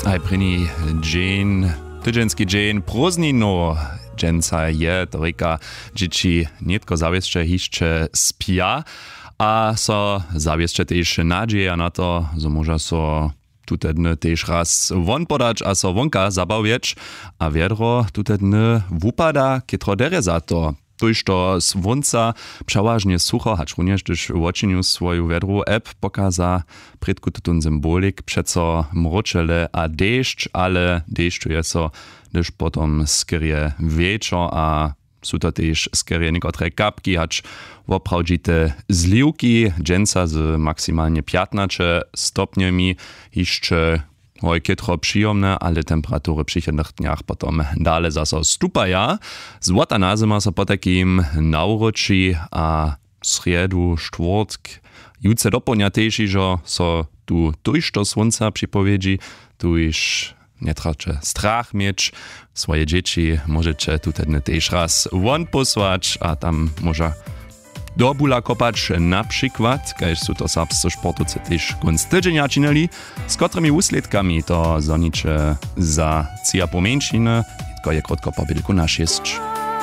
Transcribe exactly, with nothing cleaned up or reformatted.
Haj prěni dźeń, tydźenski dźeń prózdninow. Dźensa je to rěka, dźěći nětko zawěsće hišće spja a so zawěsće tež nadźeja na to, zo móža so tute dny tež raz won podać a so wonka zabawjeć. A wjedro tute dny wupada chětro derje za to. Tójšto słónca, přewažnje sucho, hačrunjež hdyž wočinju swoju wjedru app pokaza, prědku tutón symbolik přeco mróčele a dešć, ale dešću je so hdyž potom skerje wječor a su to tež skerje někotre kapki hač woprawdźite zliwki. Dźensa z maksimalnje pjatnaće stopnjemi hišće hoj chětro přijomne, ale temperatury w přichodnych dnjach potom dale zaso stupaja. Złota nazyma so potajkim nawróći a srjedu štwórtk jutře dopołdnja tež hižo so tu tójšto słónca připowědźi. Tuž njetraće strach měć, swoje dźěći móžeće tute dny tež raz won pósłać a tam móža do bula kopać, na přikład kaž su to serbscy sportowcy tež kónc tydźenja činili. Z kotrymi wuslědkami to zhoniće za tři a pół mjeńšiny, nětko je krótko po bědlku na šěsć.